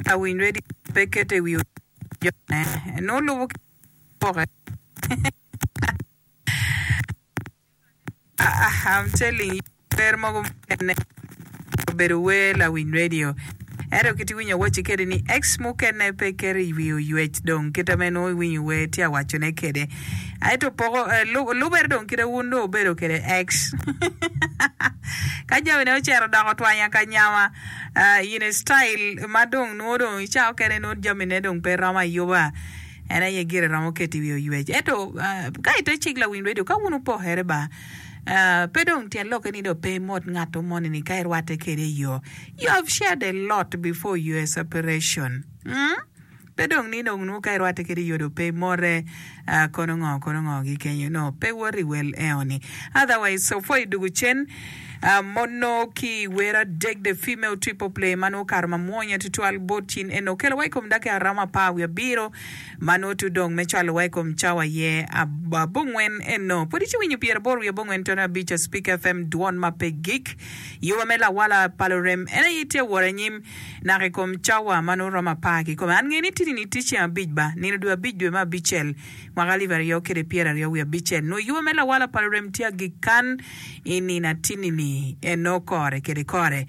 Lawiny redio pe keto i wi jone. Nongo lubo ki poke. I'm telling you, wer mogo mukene obedo wer lawiny radio. Ento kit iwinyo awacci kede ni ex mukene pe keto i wi oywec dong kite ma nongo iwinyo wer tye awacone kede. Ento poko lubere dong kite wun dong wubedo kede ex. Ka jamine ocito odoko twanya ka nyama in a style ma dong nongo dong i cawa okene nongo jamine dong pe romo ayuba. En aye gire romo keto i wi oywec. Ento ka ite cik lawiny redio, ka wun wupokere ba, pe dong tyen lokke ni dong pe imot ngat moni ni ka irwatte kwede i yo. You have shared a lot before your separation. Mm? Pe dong ni dong nwo ka irwatte kwede i yo dong pe imote kono ngo kono ngo gi kenyo. No, pe woto i wel eo ni. Otherwise, so far idwogo cen mono ki i wer adek the female triple play ma nongo okato mamwonya tutwal bot cin eno okelowa i kom dakika romo apar wiye abiro ma nongo tye odong me cwalowa i kom cawa aye abongwen eno. Pwod itye winyo pyeraboro wiye abongwen tono abic Spik FM dwon ma pe gik. Yuba me lawala pa lurem en aye tye wot anyim naka i kom cawa ma nongo romo apar kikome. An ngeyo ni tini ni tye ceng abic ba, nino dwe abic dwe me abicel mwaka alip aryo kede pyeraryo wiye abicel. Nongo yuba me lawala pa lurem tye agik kan i nino atinni-ni eno kore kede kore.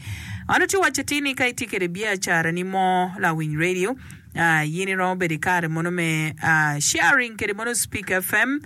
An atye waco atir ni ka itye kede biacarani mo lawiny radio, in iromo bedo i kare mono me sharing kede mono Speak FM.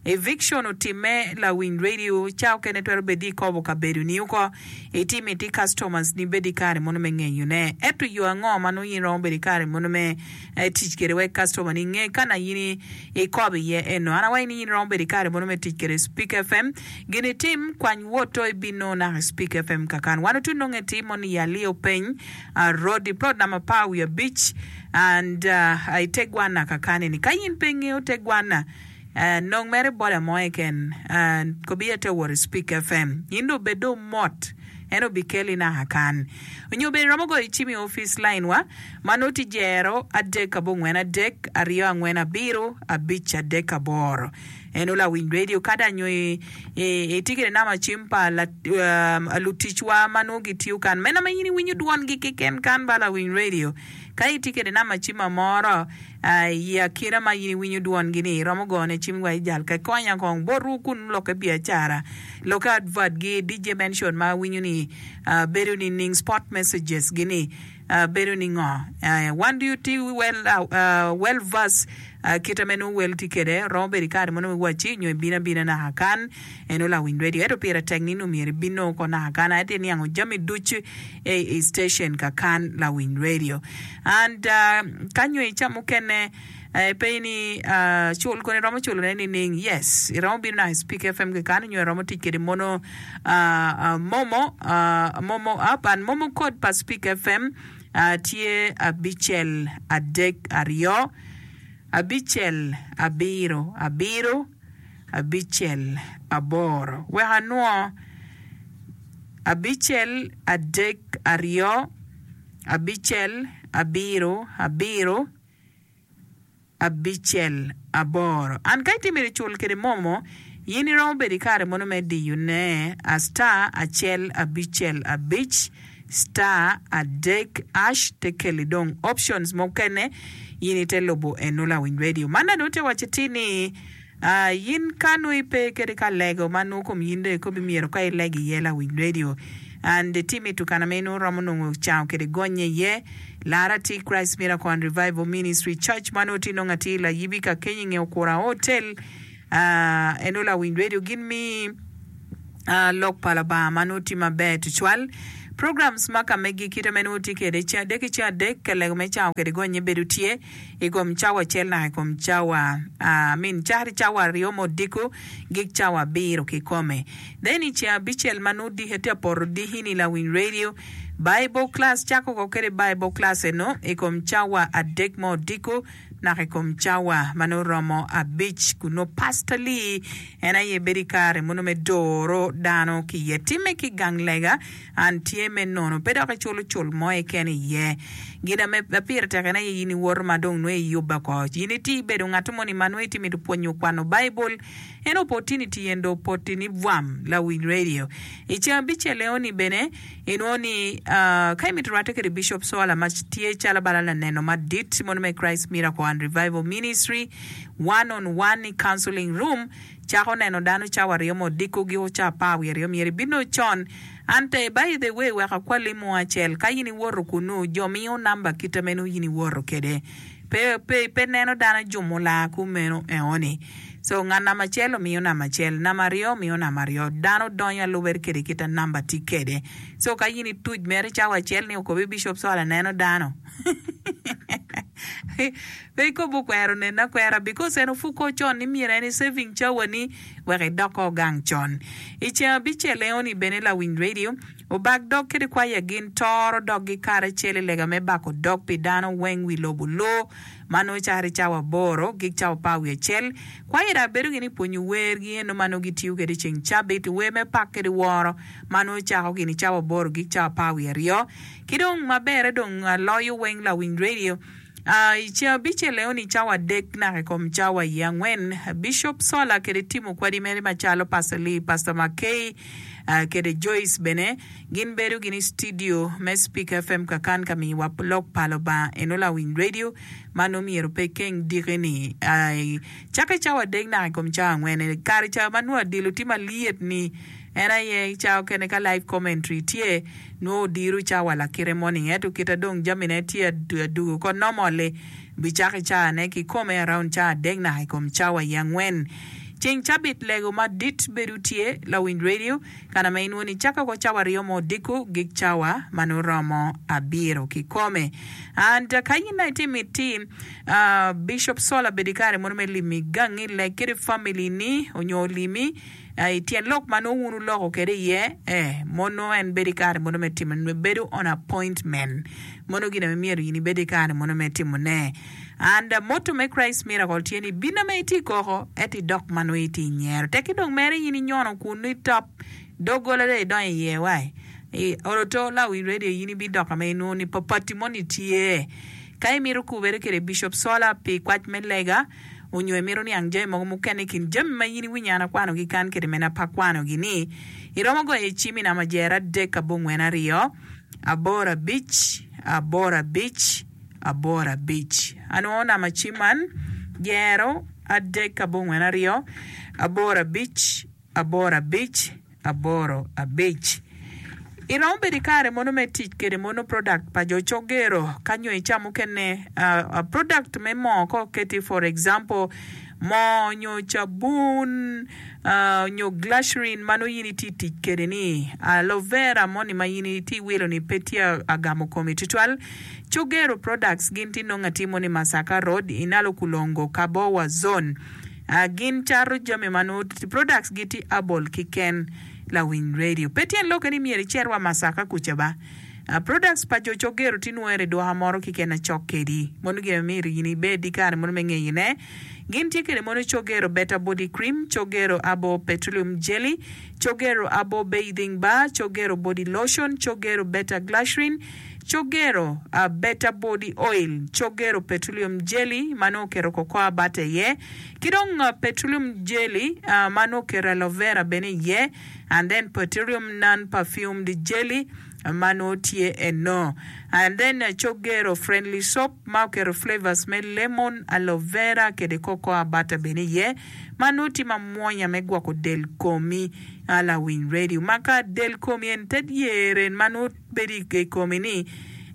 Eviction otimme lawiny radio, ca okene twero bedi ikobo kabedoni oko, itimo iti customers ni bed i kare mono me ngeyone. Ento yo ango ma nongo in iromo bedo i kare mono me tic kede wek customer ni nge kana in ikobo iye eno. An awaco ni in iromo bedo i kare mono me tic kede Speak FM. Gin itim, kwany woto ibino naka i Speak FM kakan. Wan otu nonge atir mono i Alio Peny Road i plot namba apar wiye abic and i te gwana kakan eni. Ka in pe ingeyo te gwana, nong mere boda mo keken kobi aye te wot i Speak FM. In dong bed dong mot, en obikeli naka kan. Onyo bene iromo goyo cim i opic line wa ma nongo tye jero adek abongwen adek aryo angwen abiro abic adek aboro. En olawiny radio kada nyo itye kede namba cim pa luticwa ma nongo gitiyo kan meno ma in iwinyo dwongi keken kan ba lawiny radio. Ka itye kede namba cim moro i akina ma in iwinyo dwongi ni iromo gone cim wa ijal ka ikonya kong botwu kun lokke biacara lokke advert gi DJ mention ma awinyo ni bedo nining spot messages gi ni Bedo ni ngo? Wan ducu tye well versed kite me nongo wel tye kwede. Romo bedo i kare mo nongo iwacci nyo ibino abina naka kan en olawiny radio. Ento pire tek ni nongo myero ibin nongo ko naka kan aye tye niango jami ducu i station ka kan lawiny radio. And ka nyo i ca mukene pe ni cul kono iromo culo ne nining? Yes, iromo bino naka i Speak FM keken nyo iromo tic kwede mono Momo, Momo app and Momo code pa Speak FM tye abicel adek aryo abicel abiro abiro abicel aboro. Wek anwo abicel adek aryo abicel abiro abiro. Abicel, aboro. And ka itye myero icul kede momo, yin iromo bedo ikare mono me diyo ne a star acel abicel abic star adek ash te keli dong options mukene yin ite lubo eno lawiny radio. Man dong te waco atir ni Yin ka nongo ipe kede ka lego ma nongo kom yin dong ikobi myero ka ileg iye lawiny radio and itye mito kana ma in romo nongo cango kede gonye iye lara atir Christ Miracle and Revival Ministry Church ma nongo tye nongo atir layibi ka kenyo inge okura hotel eno lawiny radio gin mi lok pa Lubanga ma nongo tye maber tutwal. Programs ma ka megi kite ma nongo tye kede ceng adek ki ceng adek lego me cango kede gonye bedo tye. I kom cawa acel naka i kom cawa I mean cakre cawa aryo me odiko gik cawa abiro kikome. Then i ceng abicel ma nongo diki atye ka poto diki-ni lawiny radio Bible class cako ko kede Bible class eno i kom cawa adek me odiko. naka i kom cawa ma nongo romo abic kun nongo Pastor Lee en aye bedo i kare mono me doro dano ki iye. Timme ki gang lega an tye me nono pe dok iculo cul mo keken iye. Gin ame pire tek en aye in iwoto ma dong nongo iyubbe oko. In itye ibedo ngat moni ma nongo itye mito pwonyo kwano Baibul En opportunity yen do opoti ni bwam lawiny radio. I ceng abicel eoni bene inwongo ni ka imito rwate kede Bishop Sola ma tye calo bala laneno madit mono me Christ Miracle and Revival Ministry one on one i counseling room cako neno dano cawa aryo me odiko giko ca apar wiye aryo myero ibino con. Ante by the way wek akwali mo acel ka in iwoto kunu jo miyo number kita meno in iwoto kede pe pe pe neno dano jumo laa kumeno eoni. So ngat namba acel omiyo namba acel, namba aryo omiyo namba aryo. Dano donyo alubere kede kita namba tye kede. So ka in ituc mere cawa acel ni okobi Bishop Sola neno dano. Pe ikobo okwero nene akwera because en opuko con ni myero en i saving cawa ni wek idok ko gang con. I ceng abicel eoni bene lawiny radio obak dog kede kwaya gin toro dog gi karacel i lega me bako dog pi dano weng wi lobo loo. Ma nongo caro i cawa aboro gik cawa apar wiye acel, kwayira bedo gin i pwonyo wergi eno ma nongo gitiyo kwede i ceng cabit, wer me pak kede woro ma nongo cako gin i cawa aboro gik cawa apar wiye aryo. Ki dong maberre dong loyo weng lawiny radio i ceng abicel eno i cawa adek naka i kom cawa iye angwen, Bishop Sola kede timo kwadi mere macalo Pastor Lee, Pastor Mackay kede Joyce bene Gin bedo gin i studio me Speak FM kakan ka miyo wa lok pa Lubanga eno lawiny radio ma nongo myero pe keng diki ni cake cawa adek naka i kom cawa angwen kare ca ma nongo adilo tye malyet ni en aye cawa okene ka live commentary tye nongo odiro cawa lakite moni ento kita dong jami ne tye adugo ko normally bicako i cawa ne kikome around cawa adek naka i kom cawa i angwen ceng cabit lego madit bedo tye lawiny radio Kana ma inwongo ni cako ko cawa aryo mo odiko gik cawa ma nongo romo abiro kikome. And ka in itye miti Bishop Sola bed ikare mono me limi gangi leg kede family ni onyo olimi i tyen lok ma nongo wun wuloko kede iye eh mono en bedo ikare mono me timo bedo on appointment mono gin ma myero in ibed ikare mono me timo ne. And motto me Christ Miracle tye ni bino ma itye koko ento idok ma nongo itye nyero. Tekki dong mere in inyono kun nongo itop doggola dong idonyo iye wai. I olo to lawi radio in ibidoko ma inwongo ni papati moni tye. Ka imito kubere kwede Bishop Sola pi kwac me lega onyo imito niang jami mogo mukene i kin jami ma in iwinyo an akwanogi kan kede mene pe akwanogi ni, iromo goyo i cim i namba jer adek abongwen aryo aboro abic aboro abic 85. Anwongo namba cim man, jero, adek abongwen aryo, aboro abic, aboro abic, aboro abic. Iromo bedo i kare mono me tic kede mono product pa jo cogero ka nyo i ca mukene product me moo ka oketi for example moo nyo cabun nyo glycerin ma nongo in itye tic kede ni aloe vera moni ma in itye wilo ni pe tye agamo komi tutwal Cogero Products gin tye nongo atir moni Masaka Road i Nalukulongo, Kabowa Zone. Gin cato jami ma nongo products gi tye herbal kiken lawiny radio. Pe tyen lokke ni myero icit wa Masaka kuca ba. Products pa jo Cogero tye nwere i duka moro kiken acok kedi. Mono gin ma myero in ibed ki kare mono me ngeyo ne. Gin tye kede mono Cogero Better Body Cream, Cogero Herbal Petroleum Jelly, Cogero Herbal Bathing Bar, Cogero Body Lotion, Cogero Better Glycerin, Cogero Better Body Oil, Cogero Petroleum Jelly ma nongo oketo cocoa butter iye, ki dong Petroleum Jelly ma nongo oketo aloe vera bene iye, and then Petroleum Non Perfumed Jelly ma nongo tye eno. And then Cogero Friendly Soap ma oketo flavors me lemon, aloe vera kede cocoa butter bene iye ma nongo tye mamwonya me gwoko del komi lawiny radio. Ma ka del komi en te dyere ma nongo bedo i komi ni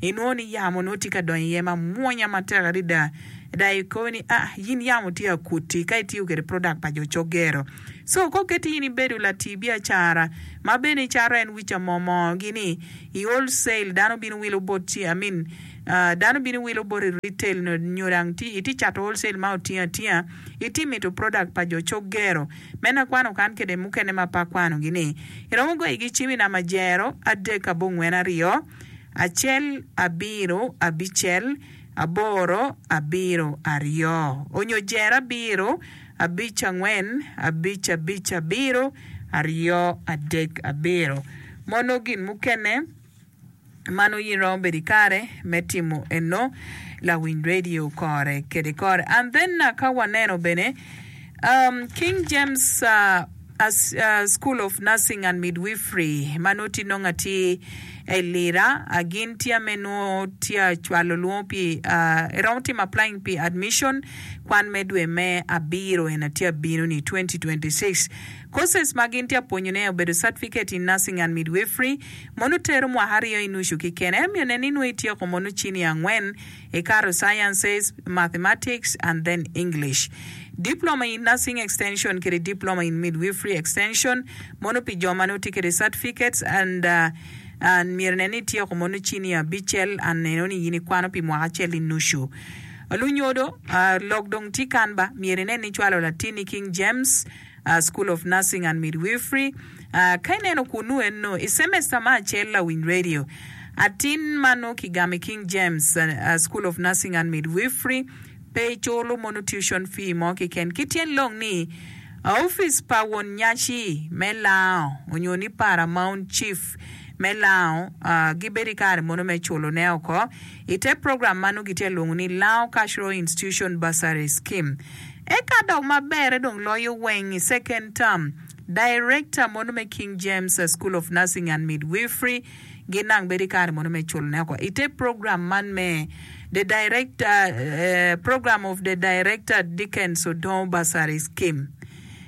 inwongo ni yamo nongo tye ka donyo iye ma mwonya matek adada dok ikobo ni ah in yamo tye akuti ka itiyo kwede product pa jo cogero. So ka oketi in ibedo lati biacara ma bene icato en wica moo moo gi ni i wholesale dano bino wilo boti I mean dano bino wilo boti retail nyo dang itye cato wholesale ma otingo atinga itye mito product pa jo cogero. Meno akwano kan kede mukene ma pe akwanogi ni, iromo goyogi cim i namba jero adek abongwen aryo, acel abiro abicel. aboro abiro aryo onyo jero abiro abic angwen abic abic abiro aryo adek abiro. Mono gin mukene ma nongo in iromo bedo ikare me timo eno lawiny radio kore kede kore. And then ka waneno bene um, King James uh, School of Nursing and Midwifery ma nongo tye nongo atir i Lira gin tye ame nongo tye acwalo lwongo pi iromo timo applying pi admission kwan me dwe me abiro en atye abino ni 2026. Courses ma gin tye apwonyo ne obedo Certificate in Nursing and Midwifery mono tero mwaka aryo i nucu kikene ento myero nen ni nongo ityeko mono cini angwen Ikato Sciences, Mathematics and then English. Diploma in Nursing Extension kede Diploma in Midwifery Extension mono pi jo ma nongo tye kede certificates and and myero nen ni ityeko mono cini abicel and neno ni in ikwano pi mwaka acel ki nucu. Lunyodo, lok dong tye kan ba, myero inen ni icwalo latinni King James School of Nursing and Midwifery. Ka ineno kunnu eno i semester me acel lawiny radio atin ma nongo kigamo i King James School of Nursing and Midwifery pe culo mono tuition fee mo keken ki tyen long ni opic pa won nyaci me lango onyo ni Paramount Chief me lango gibedo ki kare mono me culo ne oko i te program ma nongo gitye ka lwongo ni Lango Cultural Institution Bursary Scheme. Eka dok maberre dong loyo weng i second term, Director mono me King James School of Nursing and Midwifery gin nang bedo i kare mono me culo ne oko ite program man me the Director program of the Director Dickens Odongo Bursary Scheme.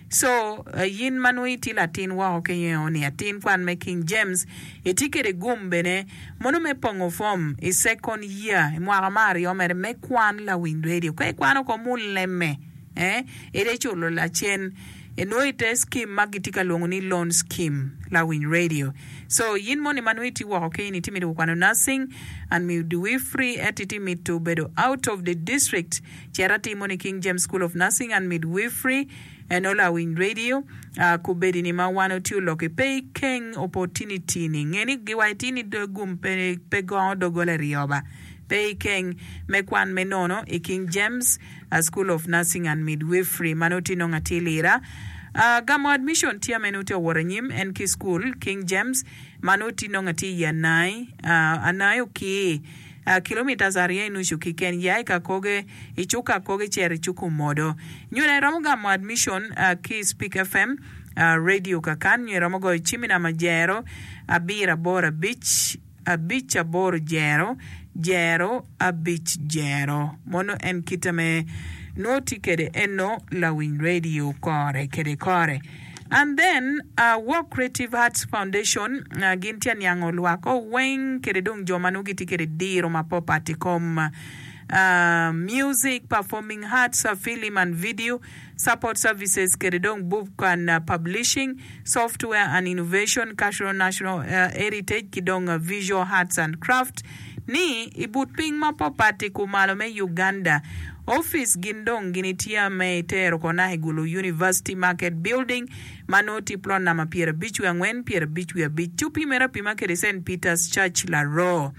So yin ma nongo itye latin woko ki ni atin kwan me King James itye kede gum bene Mono me pongo fom i second year i mwaka me aryo mere me kwan lawiny radio ka ikwano ko muleme eh ite culo lacen inongo ite scheme ma gitye ka lwongo ni loan scheme lawiny radio so yin moni ma nongo itye woko keni itye mito kwano nursing and midwifery ento itye mito bedo out of the district cit atir mono i King James School of Nursing and Midwifery Eno lawiny radio kubedi ni ma wan otye oloki pe ikeng opo tini tini nge ni giwaco tini gum pe pe gongo dogola iryoba pe ikeng me kwan me nono i King James School of Nursing and Midwifery ma nongo tye nongo atir lira gamo admission tye ame nongo tye owot anyim en ki school King James ma nongo tye nongo atir i Anai Anai okir Kilometres aryo i nucu kiken ya i Kakoge i cuk Kakoge cito i cuk Omodo. Nyo iromo gamo admission ki i Speak FM radio kakan nyo iromo goyo cim i namba jero abiro aboro abic abic aboro jero jero abic jero. Mono en kite me nwo tye kede eno lawiny radio kore kede kore. And then Walk Creative Arts Foundation gin tye aniango lwak o weng kede dong jo ma nongo gitye kede diro mapopat i kom music, performing arts, film and video, support services kede dong book and publishing, software and innovation, cultural national heritage ki dong visual arts and craft ni i but piny mapopat i kumalo me Uganda. Opic gin dong gin itye me itero kona i Gulu University Market Building ma nongo tye plot namba 50 wiye angwen 50 wiye abic ci opimere apima kede Saint Peters Church Laroo.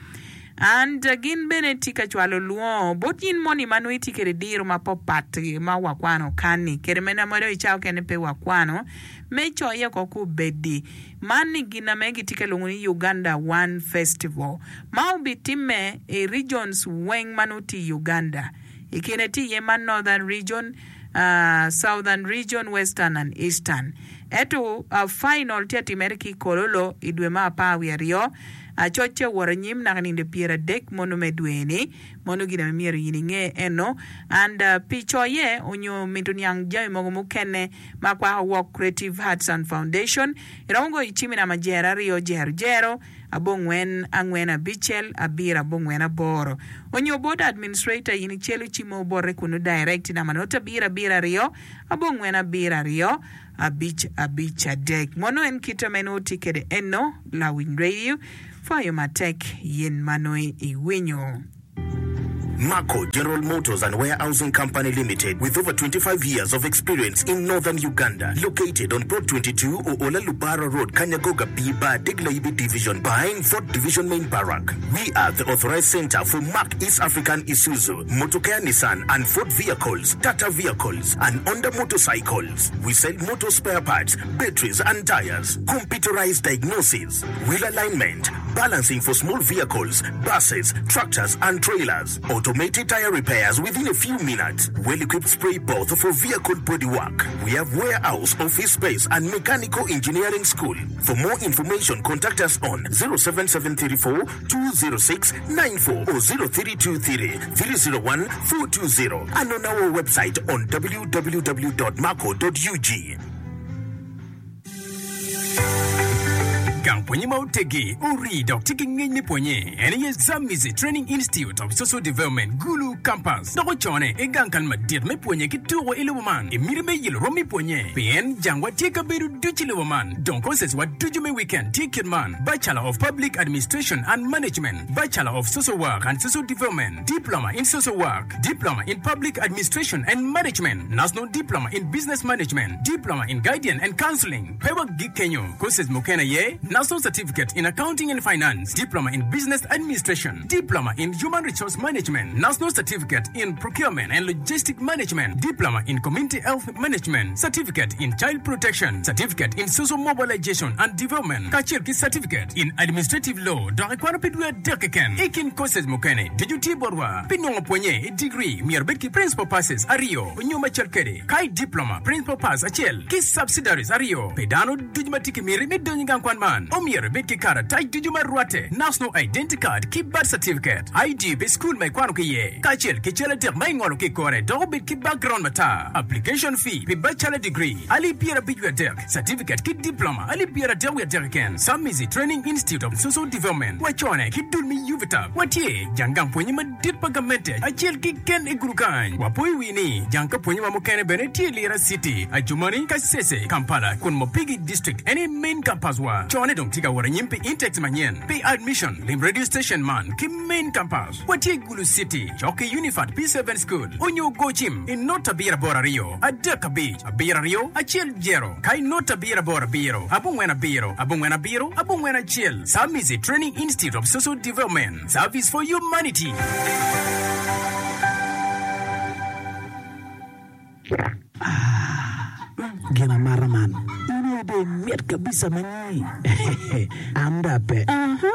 And gin bene tye ka cwalo lwongo bot in moni ma nongo itye kede diro ma popat ma wakwano kani kede mene ma dong i cawa okene pe wakwano me coye oko kubedi. Man ni gin ame gitye ka lwongo ni Uganda One Festival ma obitimme i regions weng ma nongo tye i Uganda. I kine tye iye ma Northern Region, Southern Region, Western and Eastern. Ento final tye atimere ki i Kololo i dwe me apar wiye aryo. Coc tye awot anyim naka ninde pyeradek mono me dwe ni. Mono gin ame myero in inge eno. And pi coye onyo mito niang jami mogo mukene ma kwako Walk Creative Arts and Foundation, iromo goyo cim i namba jero aryo jero jero abongwen angwen abicel abiro abongwen aboro onyo bot administrator in icelo cimo bote kunu direct i namba not abiro abiro aryo abongwen abiro aryo abic abic adek. Mono en kite ma inongo tye kede eno lawiny radio pwoyo matek yin ma nongo iwinyo. Marco General Motors and Warehousing Company Limited with over 25 years of experience in Northern Uganda located on Plot 22 Oola Lubara Road Kanyagoga B Bar Deg Layibi Division behind Fort Division Main Barrack. We are the authorized center for Mack East African Isuzu, Motokea Nissan and Ford vehicles, Tata vehicles and Honda motorcycles. We sell motor spare parts, batteries and tires, computerized diagnosis, wheel alignment, balancing for small vehicles, buses, tractors and trailers, automated tire repairs within a few minutes, well-equipped spray booth for vehicle body work. We have warehouse, office space and mechanical engineering school. For more information contact us on 07734 206 94 or 0323 301 420 and on our website on www.maco.ug. Gang pwonye ma oteggi, orii dok tye ki ngec me pwonye en aye Zambezi Training Institute of Social Development, Gulu Campus, dok ocone i gang kal madit me pwonye ki tuko i lobo man i miti me yelo rom me pwonye pien jangwa tye kabedo ducu i lobo man. Dong courses wa ducu me weekend tye kit man, Bachelor of Public Administration and Management, Bachelor of Social Work and Social Development, Diploma in Social Work, Diploma in Public Administration and Management, National Diploma in Business Management, Diploma in Guidance and Counseling. Pe wagik kenyo, courses mukene aye, National Certificate in Accounting and Finance, Diploma in Business Administration, Diploma in Human Resource Management, National Certificate in Procurement and Logistic Management, Diploma in Community Health Management, Certificate in Child Protection, Certificate in Social Mobilization and Development, kacel ki Certificate in Administrative Law dok ikwano pi dwe adek keken. I kin courses mukene ducu tye botwa. Pi nongo pwonye i digri myero ibed ki Principal Passes aryo nyo macel kwede, ka i Diploma, Principal Pass acel ki Subsidiaries aryo. Pi dano ducu ma tye ki miti me donyo i gang kwan man, omyero ibed ki karatac ducu ma rwatte, National Identity Card ki Birth Certificate, ID pi cukul ma ikwano ki iye, kacel ki cal adek ma ingolo ki i kore dok obed ki background matar. Application fee pi Bachelor Degree, alip pyerabic wiye adek, Certificate ki Diploma, alip pyeradek wiye adek keken. Samizi Training Institute of Social Development, wacone ki dul me UVTAB. Watye jang gang pwonye madit pa gamente acel keken i gudo kany. Wapoyo wi ni jang ka pwonye wa mukene bene tye i Lira City, Adjumani, Kasese, Kampala kun Mopigi District en aye main campus wa. Cone dong tye ka wot anyim pi intakes manyen. Pi admission, lim radio station man ki main campus. Watye i Gulu City, cok ki Unifat P7 School, onyo go cim i not abiro aboro aryo, adek abic, abiro aryo, acel jero, ka i not abiro aboro abiro, abongwen abiro, abongwen abiro, abongwen acel. Samizi Training Institute of Social Development, Service for Humanity. Ah, gin amata man. In aye dong imit kabisa ma nyi. An dong ape. Aha,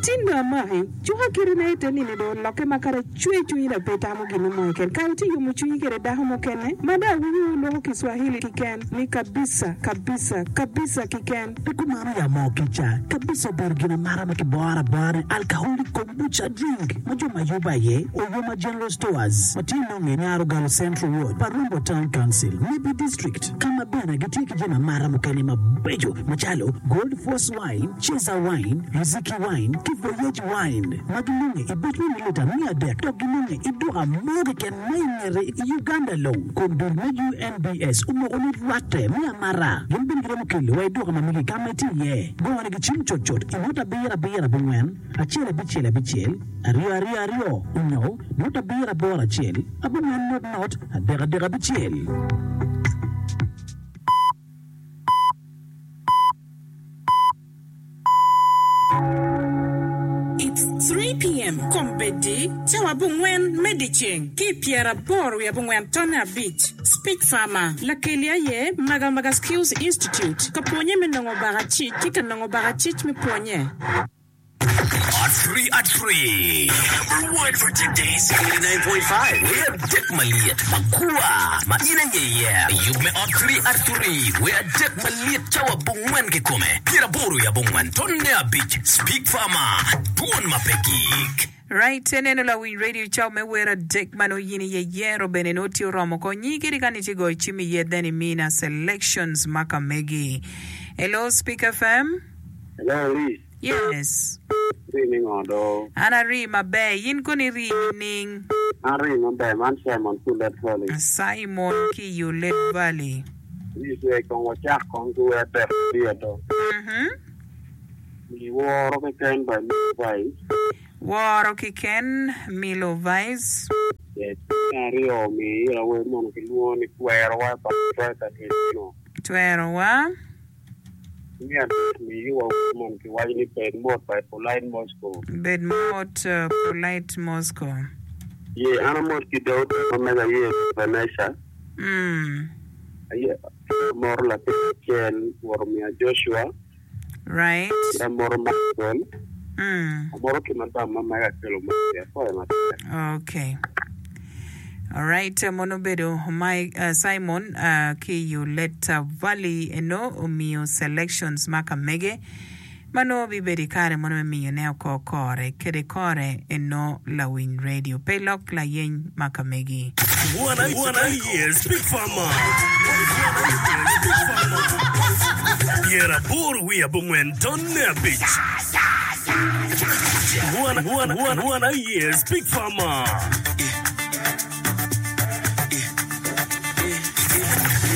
tin dong amaki. Cuka kiti na ite nini dong olokke ma kadi acwe cwinyi dong pe itamo gin mo keken. Kare itye yomo cwinyi kede dako mukene ma dong awinyo wuloko Kiswahili kiken ni kabisa, kabisa, kabisa kiken. Pe kumano ya moo kica kabisa obedo gin amata ma kiboro abora ni alcoholic kombucha drink ma jo ma yubo aye Oyoma General Stores ma tye nonge i Nyarogalo Central Ward, Parumbo Town Council, Nebbi District ka ma bene gitye ki jami amata mukene mabeco macalo Gold Force Wine, Cesar Wine, Riziki Wine ki Voyage Wine ma ginonge i buc me mililita 300 dok ginonge i duka mo keken ma i ngete i Uganda long kun dul me UNBS omoko ni rwatte me amata gin bene giromo kelo wa i duka ma megi ka ma itye iye. Gone gi cim cutcut i nota abiro abiro abongwen acel abicel abicel aryo aryo aryo onyo nota abiro aboro acel abongwen not not adek adek abicel. It's 3 PM, Kombeddi, cawa abongwen me dyeceng ki i pyeraboro wiye abongwen tonne abic. Speech Farmer, Lakeli aye Maga Maga Skills Institute, ka pwonye me nongo bakacic ki ka nongo bakacic me pwonye. At three at three. Number one for today's 89.5. Wer adek malyet makwa ma in aye iye. Yub me ot three at three. Wer adek malyet cawa abongwen kikome. Pyeraboro i abongwen tonne abic. Speak Farmer. Dwon ma pe gik. Right, eneno lawiny radio cawa me wer adek ma nongo yin iye yero bene nongo tye oromo konyi kadi ka ni tye goyo cim iye then imina selections ma ka megi. Hello Speak FM. Hello, Liz. Yes. Rii ni ngo do? An arii maber. In kono irii nining? An arii maber. Man Simon ki Ulet Valley. Simon ki i Ulet Valley. Liz, wek kong wacak kong ki wer tek adyer do. Mhm. Giworo keken by Levi. Woro kiken, Milo Vice. Me aryo, mi ira wer mono kilwongo ni Twerowa pa Professor Edwino. Twerowa. Me adek, mi iwa wer mono kiwaco ni Bed Mot by Polite Moscow. Bed Mot, Polite Moscow. Ye, an amot ki Daudi ma mega aye Vanessa. Aye amoto latin acel Rwot omiya Joshua. Right. Ki amoto Maxwell. Amoto ki madam ma mega akelo Mercy. Apwoyo matek. Okay. Alright, mono obedo Mike, uh, Simon uh, ki i Oleta Valley eno omiyo selections ma ka mege ma nongo bibedo i kare mono me miyone oko kore kede kore eno lawiny radio pe ilok layeny ma ka megi. Wan aye Speak Farmer. 84 tonne abic. Wan aye Speak Farmer.